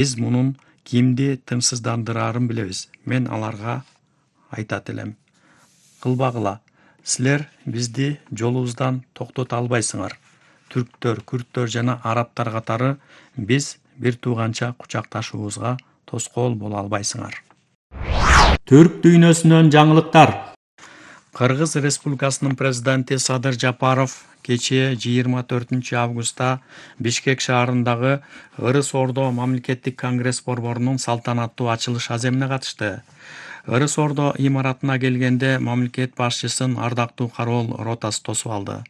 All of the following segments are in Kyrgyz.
Биз мунун кимди тынчсыздандырарын билебиз. Мен аларга айтат элем. Кылбагыла. Силер бизди жолубуздан токтото албайсыңар. Түрктөр, күрттөр жана арабтар катары биз бир тууганча кучакташуубузга тоскоол боло албайсыңар. Түрк дүйнөсүнөн жаңылыктар. Кыргыз Республикасынын президенти Садыр Жапаров кечээ 24 августта Бишкек шаарындагы Ырыс Ордо мамлекеттик конгресс борборунун салтанаттуу ачылыш аземине катышты. Ырыс Ордо имаратына келгенде мамлекет башчысын ардактуу кароол ротасы тосуп алды.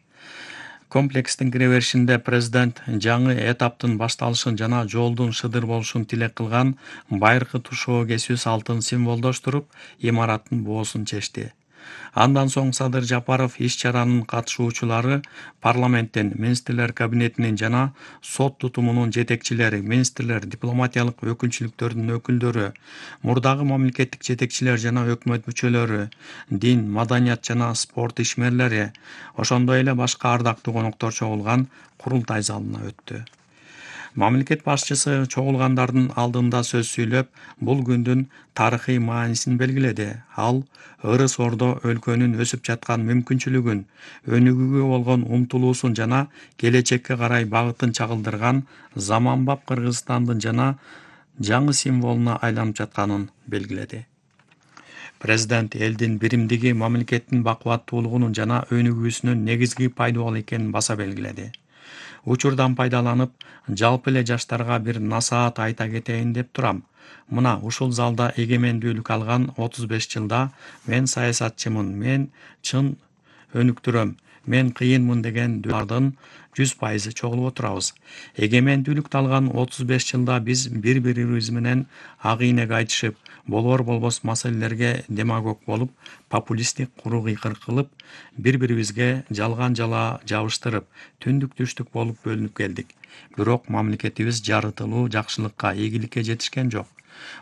Комплекстин киреберишинде президент жаңы этаптын башталышын жана жолдун шыдыр болушун тилек кылган байыркы тушоо кесүү салтын символдоштуруп, имараттын боосун чечти. Андан соң Садыр Жапаров иш-чаранын катышуучулары парламенттин, министрлер кабинетинин жана сот тутумунун жетекчилери, министрлер, дипломатиялык өкүлчүлүктөрдүн өкүлдөрү, мурдагы мамлекеттик жетекчилер жана өкмөт мүчөлөрү, дин, маданият жана спорт ишмерлери, ошондой эле башка ардактуу коноктор чогулган курултай залына өттү. Мамлекет башчысы чогулгандардын алдында сөз сүйлөп, бул күндүн тарыхый маанисин белгиледи. Ал Ырыс Ордо өлкөнүн өсүп жаткан мүмкүнчүлүгүн, өнүгүүгө болгон умтулуусун жана келечекке карай багытын чагылдырган заманбап Кыргызстандын жана жаңы символуна айланып жатканын белгиледи. Президент элдин биримдиги мамлекеттин бакубаттуулугунун жана өнүгүүсүнүн негизги пайдубалы экенин баса белгиледи. Учурдан пайдаланып, жалпы эле жаштарга бир насаат айта кетейин деп турам. Мына ушул залда эгемендүүлүк алган 35 жылда мен саясатчымын, мен чын өнүктүрөм, мен кыйынмын деген дүйнөлөрдүн 100% чогулуп отурабыз. Эгемендүүлүктү алган 35 жылда биз бири-бирибиз менен ак ийнек айтышып, болор болбос маселелерге демагог болуп, популисттик куру кыйкыр кылып, бири-бирибизге жалган жала жабыштырып, түндүк түштүк болуп бөлүнүп келдик. Бирок мамлекетибиз жарытылуу жакшылыкка, ийгиликке жетишкен жок.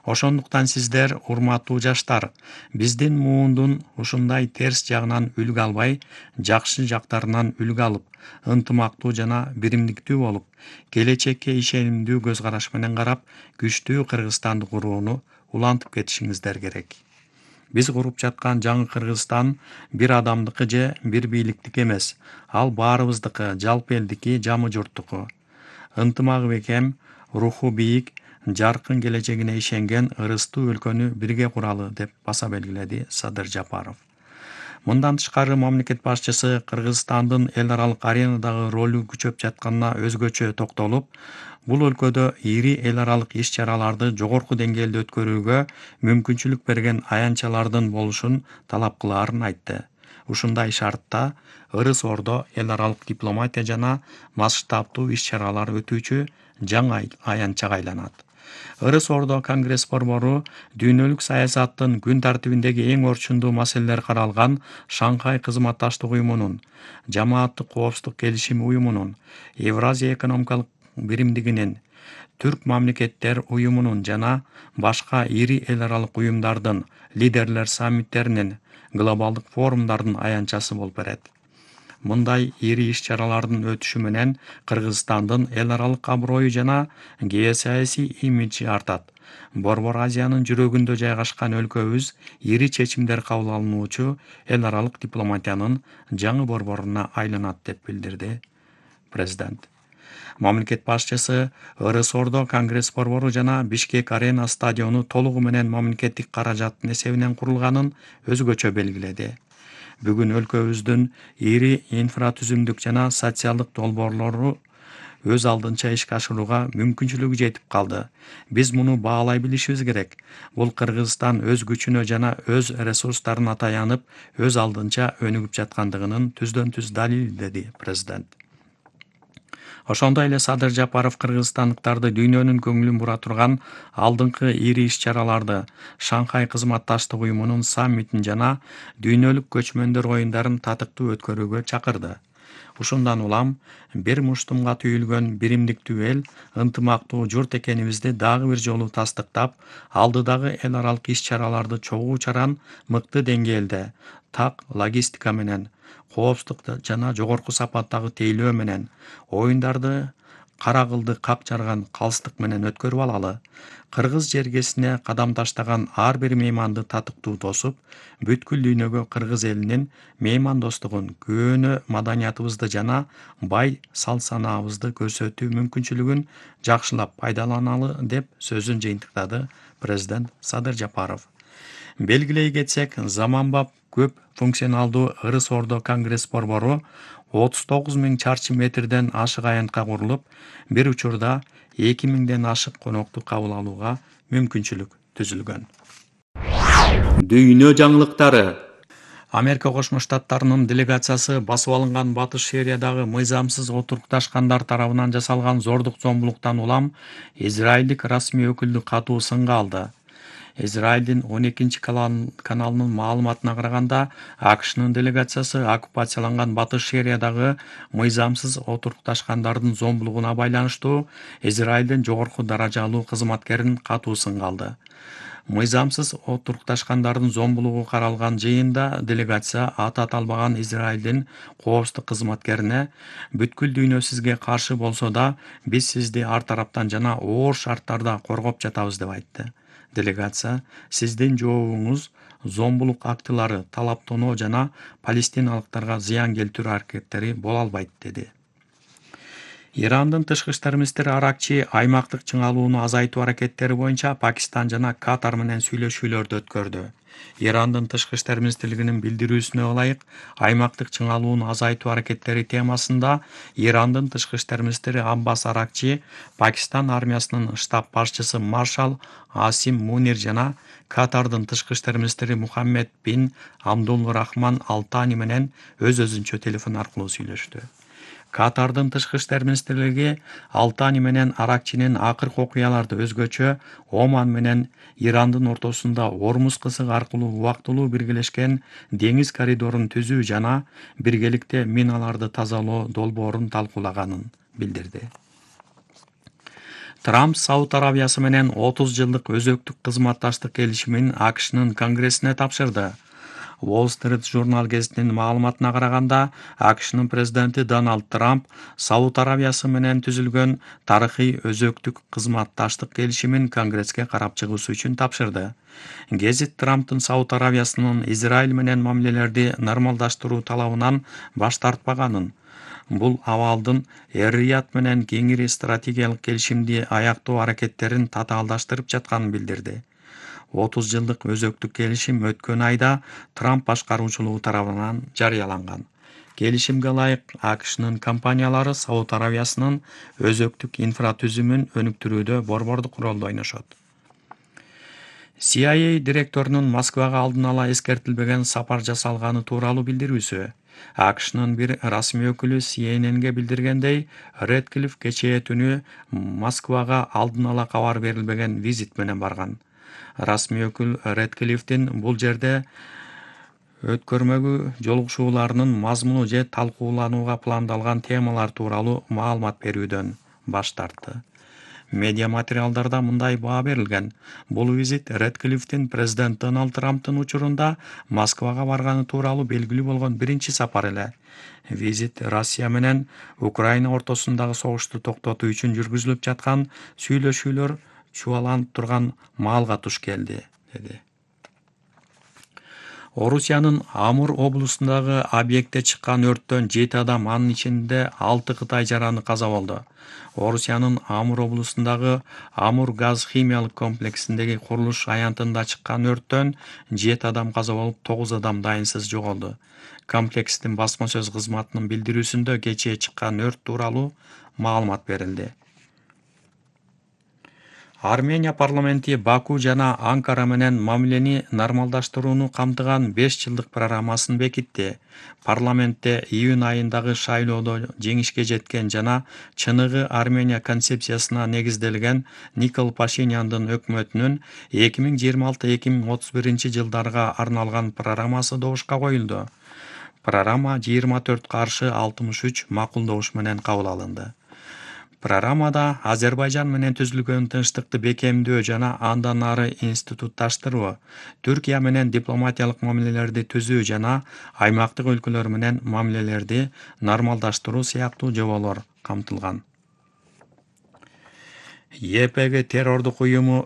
Ошондуктан сиздер, урматтуу жаштар, биздин муундун ушундай терс жагынан үлгү албай, жакшы жактарынан үлгү алып, ынтымактуу жана биримдиктүү болуп, келечекке ишенимдүү көз караш менен карап, күчтүү Кыргызстанды курууну улантып кетишиңиздер керек. Биз куруп жаткан жаңы Кыргызстан бир адамдыкы же бир бийликтики эмес. Ал баарыбыздыкы, жалпы элдики, жамы журттуку. Ынтымагы бекем, руху бийик, жаркын келечегине ишенген ырыстуу өлкөнү бирге куралы деп баса белгиледи Садыр Жапаров. Мындан тышкары мамлекет башчысы Кыргызстандын эл аралык аренадагы ролу күчөп жатканына өзгөчө токтолуп, бул өлкөдө ири эл аралык иш-чараларды жогорку деңгээлде өткөрүүгө мүмкүнчүлүк берген аянтчалардын болушун талап кылаарын айтты. Ушундай шартта Ырыс Ордо эл аралык дипломатия жана масштабтуу иш-чаралар өтүүчү жаңы аянтчага айланат. Ырыс Ордо конгресс борбору дүйнөлүк саясаттын күн тартибиндеги эң орчундуу маселелер каралган Шанхай кызматташтык уюмунун, Жамааттык коопсуздук келишими уюмунун, Евразия экономикалык биримдигинин, Түрк мамлекеттер уюмунун жана башка ири эл аралык уюмдардын, лидерлер саммиттеринин, глобалдык форумдардын аянтчасы болуп берет. Мындай ири иш-чаралардын өтүшү менен Кыргызстандын эл аралык аброю жана геосаясий имиджи артат. Борбор Азиянын жүрөгүндө жайгашкан өлкөбүз ири чечимдер кабыл алынуучу эл аралык дипломатиянын жаңы борборуна айланат деп билдирди президент. Мамлекет башчысы Ырыс Ордо конгресс борбору жана Бишкек арена стадиону толугу менен мамлекеттик каражаттын эсебинен курулганын өзгөчө белгиледи. Бүгүн өлкөбүздүн ири инфратүзүмдүк жана социалдык долбоорлору өз алдынча ишке ашырууга мүмкүнчүлүгү жетип калды. Биз муну баалай билишибиз керек. Бул Кыргызстан өз күчүнө жана өз ресурстарына таянып, өз алдынча өнүгүп жаткандыгынын түздөн-түз далили, деди президент. Ошондой эле Садыр Жапаров кыргызстандыктарды дүйнөнүн көңүлүн бура турган алдыңкы ири иш-чараларды, Шанхай кызматташтык уюмунун саммитин жана дүйнөлүк көчмөндөр оюндарын татыктуу өткөрүүгө чакырды. Ушундан улам бир муштумга түйүлгөн биримдиктүү эл, ынтымактуу журт экенибизди дагы бир жолу тастыктап, алдыдагы эл аралык иш-чараларды чогуу чаран, мыкты деңгээлде, так логистика менен, коопсуздук жана жогорку сапаттагы тейлөө менен, оюндарды кара кылды как жарган калыстык менен өткөрүп алалы. Кыргыз жергесине кадам таштаган ар бир мейманды татыктуу тосуп, бүткүл дүйнөгө кыргыз элинин меймандостугун, көөнө маданиятыбызды жана бай салт-санаабызды көрсөтүү мүмкүнчүлүгүн жакшылап пайдаланалы деп сөзүн жыйынтыктады президент Садыр Жапаров. Белгилей кетсек, заманбап көп функционалдуу Ырыс Ордо Конгресс борбору 39 000 чарчы метрден ашык аянтка курулуп, бир учурда 2000ден ашык конокту кабыл алууга мүмкүнчүлүк түзүлгөн. Дүйнө жаңылыктары. Америка Кошмо Штаттарынын делегациясы басып алынган Батыш Сириядагы мыйзамсыз отурукташкандар тарабынан жасалган зордук-зомбулуктан улам Израилдик расмий өкүлдү катуу сынга алды. Израилдин 12-каналынын маалыматына караганда, АКШнын делегациясы оккупацияланган Батыш Сириядагы мыйзамсыз отурукташкандардын зомбулугуна байланыштуу Израилдин жогорку даражалуу кызматкерин катуу сынга алды. Мыйзамсыз отурукташкандардын зомбулугу каралган жыйында делегация аты аталбаган Израилдин коопсуздук кызматкерине бүткүл дүйнө сизге каршы болсо да, биз сизди ар тараптан жана оор шарттарда коргоп жатабыз деп айтты. Делегация сиздин жообуңуз зомбулук актылары, талаптоноо жана палестиналыктарга зыян келтирүү аракеттери боло албайт деди. Ирандын тышкы иштер министри Аракчи аймактык чыңалууну азайтуу аракеттери боюнча Пакистан жана Катар менен сүйлөшүүлөрдү өткөрдү. Ирандын тышкы иштер министрлигинин билдирүүсүнө ылайык, аймактык чыңалууну азайтуу аракеттери темасында Ирандын тышкы иштер министри Аббас Аракчи, Пакистан армиясынын штаб башчысы маршал Асим Мунир жана Катардын тышкы иштер министри Мухаммед бин Абдул Рахман Алтани менен өз-өзүнчө телефон аркылуу сүйлөштү. Катардын тышкы иштер министрлиги Алтани менен Аракчинин акыркы окуяларды өзгөчө Оман менен Ирандын ортосунда Ормуз кысыгы аркылуу убактылуу биргелешкен деңиз коридорун түзүү жана биргеликте миналарды тазалоо долбоорун талкуулаганын билдирди. Трамп Сауд Арабиясы менен 30 жылдык өзөктүк кызматташтык келишимин АКШнын Конгрессине тапшырды. Wall Street журнал гезитинин маалыматына караганда, АКШнын президенти Дональд Трамп Сауд Арабиясы менен түзүлгөн тарыхый өзөктүк кызматташтык келишимин Конгресске карап чыгуусу үчүн тапшырды. Гезит Трамптын Сауд Арабиясынын Израиль менен мамилелерди нормалдаштыруу талабынан баш тартпаганын, бул абалдын Эр-Рияд менен кеңири стратегиялык келишимди аяктоо аракеттерин татаалдаштырып жатканын билдирди. 30 жылдык өзөктүк келишим өткөн айда Трамп башкаруучулугу тарабынан жарыяланган. Келишимге ылайык, АКШнын компаниялары Сауд Арабиясынын өзөктүк инфратүзүмүн өнүктүрүүдө борбордук ролду ойношот. CIA директорунун Москвага алдын ала эскертилбеген сапар жасалганы тууралуу билдирүүсү. АКШнын бир расмий өкүлү CNN'ге билдиргендей, Редклифф кечээ түнү Москвага алдын ала кабар берилбеген визит менен барган. Расмий өкүл Редклиффтин бул жерде өткөрмөгү жолугушууларынын мазмуну же талкууланууга пландалган темалар тууралуу маалымат берүүдөн баш тартты. Медиа материалдарда мындай баа берилген: бул визит Редклиффтин президент Дональд Трамптын учурунда Москвага барганы тууралуу белгилүү болгон биринчи сапар эле. Визит Россия менен Украина ортосундагы согушту токтотуу үчүн жүргүзүлүп жаткан сүйлөшүүлөр чубаланып турган маалга туш келди, деди. Орусиянын Амур облусундагы объектте чыккан өрттөн 7 адам, анын ичинде 6 Кытай жараны каза болду. Орусиянын Амур облусундагы Амур газ химиялык комплексиндеги курулуш аянтында чыккан өрттөн 7 адам каза болуп, 9 адам дайынсыз жоголду. Комплекстин басма сөз кызматынын билдирүүсүндө кечээ чыккан өрт тууралуу маалымат берилди. Армения парламенти Баку жана Анкара менен мамилени нормалдаштырууну камтыган 5 жылдык программасын бекитти. Парламентте июнь айындагы шайлоодо жеңишке жеткен жана чыныгы Армения концепциясына негизделген Никол Пашиняндын өкмөтүнүн 2026-2031 жылдарга арналган программасы добушка коюлду. Программа 24 каршы 63 макулдош менен кабыл алынды. Программада Азербайжан менен түзүлгөн тынчтыкты бекемдөө жана андан ары институтташтыруу, Түркия менен дипломатиялык мамилелерди түзүү жана аймактык өлкөлөр менен мамилелерди нормалдаштыруу сыяктуу жоболор камтылган. YPG террордук уюму